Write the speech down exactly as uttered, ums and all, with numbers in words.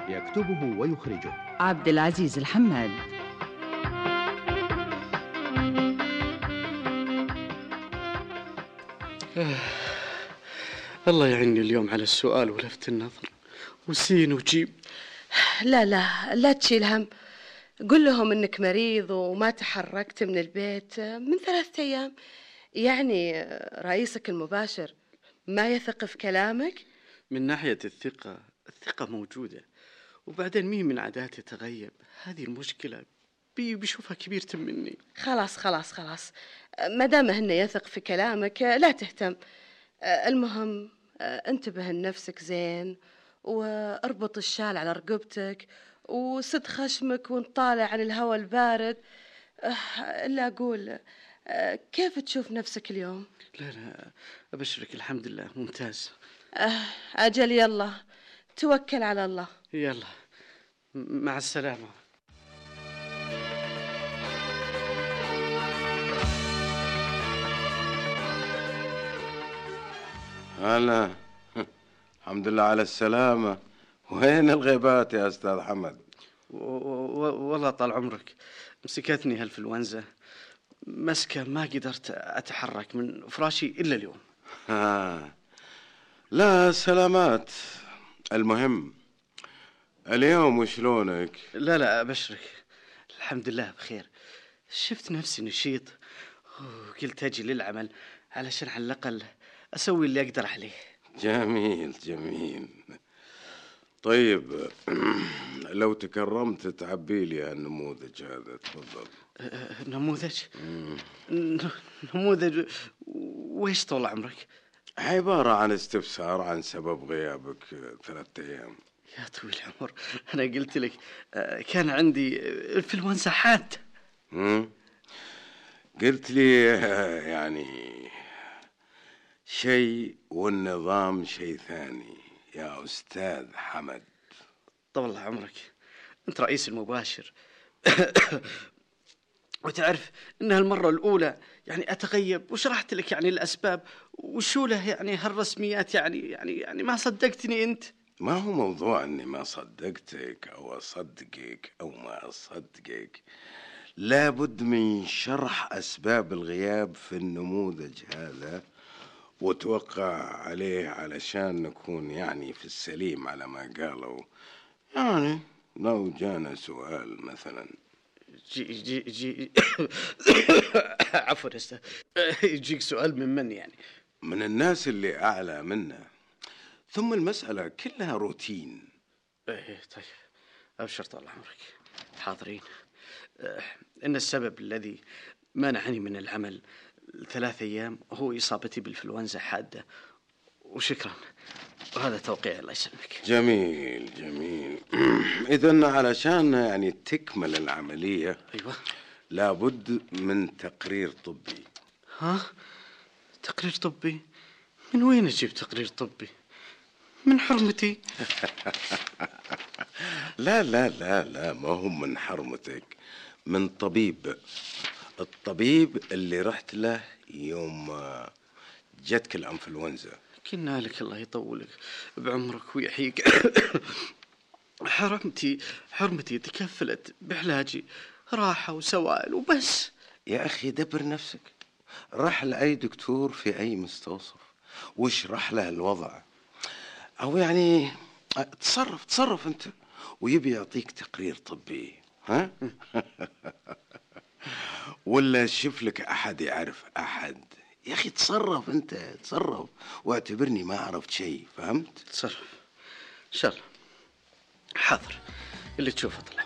يكتبه ويخرجه عبد العزيز الحماد. آه. الله يعيني اليوم على السؤال ولفت النظر وسين وجيم. لا لا لا تشيل هم، قل لهم انك مريض وما تحركت من البيت من ثلاثة ايام. يعني رئيسك المباشر ما يثق في كلامك؟ من ناحية الثقة، الثقة موجودة، وبعدين مين من عاداتي تغيب، هذه المشكلة. بي بيشوفها كبيرة مني. خلاص خلاص خلاص، ما دام هن يثق في كلامك لا تهتم. المهم انتبه لنفسك زين، واربط الشال على رقبتك، وسد خشمك وانطالع عن الهواء البارد. إلا أقول، كيف تشوف نفسك اليوم؟ لا لا أبشرك الحمد لله ممتاز. أجل يلا توكل على الله. يلا مع السلامة. هلا الحمد لله على السلامة. وين الغيبات يا أستاذ حمد؟ والله طال عمرك مسكتني هالفلونزا، مسكة ما قدرت أتحرك من فراشي إلا اليوم. ها. لا سلامات. المهم اليوم وشلونك؟ لا لا أبشرك الحمد لله بخير. شفت نفسي نشيط وقلت أجي للعمل علشان على الأقل أسوي اللي أقدر عليه. جميل جميل. طيب لو تكرمت تعبي لي النموذج هذا تفضل. نموذج؟ نموذج وإيش طول عمرك؟ عبارة عن استفسار عن سبب غيابك ثلاثة أيام. يا طويل العمر أنا قلت لك كان عندي الإنفلونزا حادة. قلت لي يعني شيء والنظام شيء ثاني يا أستاذ حمد. طول عمرك أنت رئيس المباشر وتعرف إنها المرة الأولى يعني أتغيب، وشرحت لك يعني الأسباب وشو له يعني هالرسميات. يعني يعني يعني ما صدقتني أنت. ما هو موضوع أني ما صدقتك أو أصدقك أو ما أصدقك، لابد من شرح أسباب الغياب في النموذج هذا وتوقع عليه علشان نكون يعني في السليم على ما قالوا. يعني لو جانا سؤال مثلا جي جي جي عفوا استاذ، يجيك سؤال من من يعني؟ من الناس اللي أعلى منا، ثم المسألة كلها روتين. ايه طيب أبشر طال عمرك حاضرين. إن السبب الذي منعني من العمل ثلاث أيام هو إصابتي بالإنفلونزا حادة، وشكرا، وهذا توقيع الله يسلمك. جميل جميل. إذن علشان يعني تكمل العملية أيوة لابد من تقرير طبي. ها؟ تقرير طبي؟ من وين أجيب تقرير طبي؟ من حرمتي. لا لا لا لا ما هو من حرمتك، من طبيب. الطبيب اللي رحت له يوم جتك الانفلونزا. كنا لك الله يطولك بعمرك ويحييك. حرمتي حرمتي تكفلت بعلاجي، راحة وسوائل وبس. يا أخي دبر نفسك، راح لأي دكتور في أي مستوصف واشرح له الوضع، أو يعني تصرف تصرف أنت ويبي يعطيك تقرير طبي. ها؟ ولا شوف لك أحد يعرف أحد. يا أخي تصرف أنت، تصرف واعتبرني ما عرفت شيء. فهمت؟ تصرف إن شاء الله. حاضر اللي تشوفه طلع.